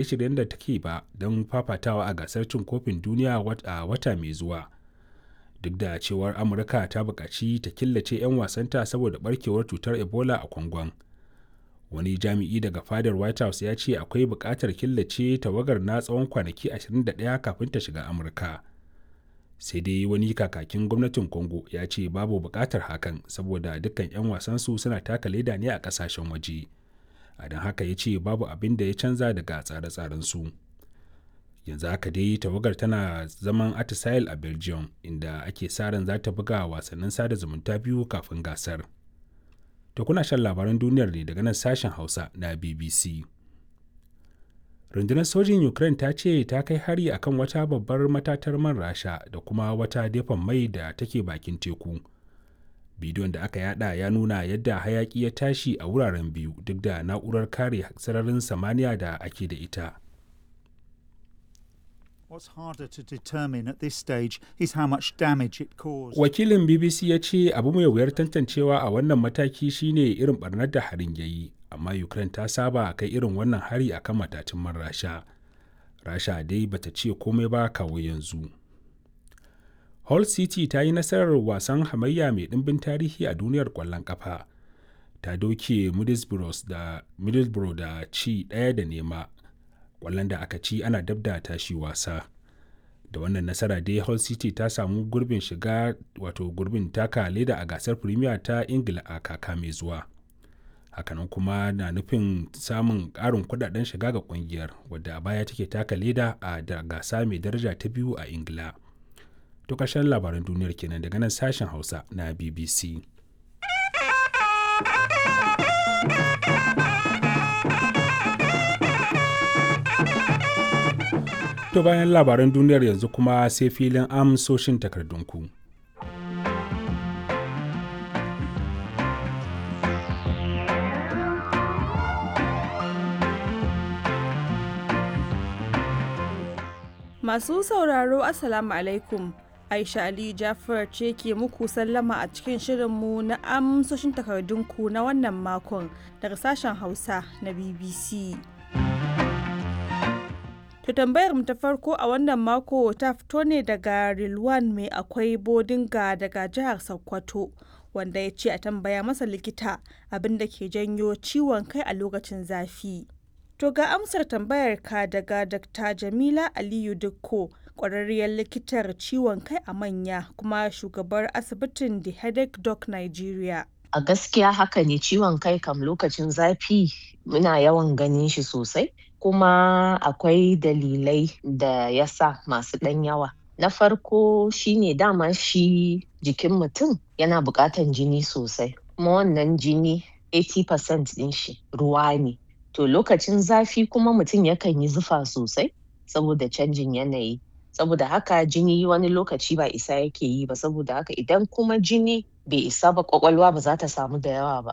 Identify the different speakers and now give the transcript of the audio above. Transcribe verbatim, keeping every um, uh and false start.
Speaker 1: Shirye-shiryen da take ba don fafatawa a gasar cin kofin duniya a wata mai zuwa, duk da cewar Amurka ta bukaci ta killace 'yan wasanta saboda barkewar cutar Ebola a Kwangon. Wani jami'i daga fadar White House ya ce akwai bukatar killace tawagar na tsawon kwanaki ashirin da ɗaya kafin ta shiga Amurka. Sai dai wani kakakin gwamnatin Congo ya ce babu bukatar hakan saboda dukkan 'yan wasansu suna taka leda ne a kasashen waje. A don haka ya ce babu abin da ya canza daga tsare-tsarensu. Yanzu haka dai tawagar tana zaman atisaye a Belgium, inda ake sa ran za ta buga wasannin sada zumunta biyu kafin gasar. To kuna shan labaran duniyar ne daga nan sashen Hausa na B B C. Rundunar sojin Ukraine ta ce ta kai hari akan wata babbar matatar man Rasha da kuma wata depon mai da take bakin teku. Bidiyon da aka yada ya nuna yadda hayaki ya tashi a wuraren biyu duk da na'urar kare sararin samaniya da ake da ita.
Speaker 2: What's harder to determine at this stage is how much damage it caused.
Speaker 1: Wakilin B B C ya ce abu mai wuyar tantancewa a wannan mataki shine irin barnar da harin ya yi, amma Ukraine ta saba kai irin wannan hari akan matatun man Rasha. Rasha dai bata ce komai ba kawo yanzu. Hull City ta yi nasarar wasan hamayya mai ɗimbin tarihi a duniyar ƙwallon ƙafa. Ta doke Middlesbrough da, Middlesbrough da ci ɗaya da nema. Ƙwallon da aka ci ana dab da tashi wasa. Da wannan nasara dai Hull City ta samu gurbin shiga, wato gurbin taka leda a gasar Premier ta Ingila a kaka mai zuwa. Hakanan kuma na nufin samun ƙarin kudaden shiga ga ƙungiyar, wadda a baya take taka leda a da gasa mai daraja ta biyu a Ingila. To ƙarshen labaran duniyar kenan daga nan sashen Hausa na B B C. To bayan labaran duniyar, yanzu kuma sai filin amsoshin takardunku.
Speaker 3: Masu sauraro, Assalamu alaikum. Aisha Aliyu Jafar ce ke muku sallama a cikin shirinmu na amsoshin takardunku na wannan makon daga sashen Hausa na B B C. To tambayar mu ta farko a wannan mako ta fito ne daga Rilwan Mai Akwai Bodinga daga jihar Sokoto, wanda ya ce a tambaya masa likita abin da ke janyo ciwon kai a lokacin zafi. To ga amsar tambayar ka daga Doctor Jamila Aliyu Dikko, ƙwararriyar likitar ciwon kai a manya kuma shugabar asibitin The Headache Doc Nigeria.
Speaker 4: A gaskiya haka ne, ciwon kai kam lokacin zafi muna yawan ganin shi sosai, kuma akwai dalilai da ya sa masu ɗan yawa. Na farko shine dama shi jikin mutum yana buƙatan jini sosai, kuma wannan jini kashi tamanin cikin ɗari ɗin shi ruwa ne. To lokacin zafi kuma mutum yakan yi zufa sosai saboda canjin yanayi. Saboda haka jini wani lokaci ba isa yake yi ba, saboda haka idan kuma jini bai isa ba, ƙwaƙwalwa ba za ta samu da yawa ba.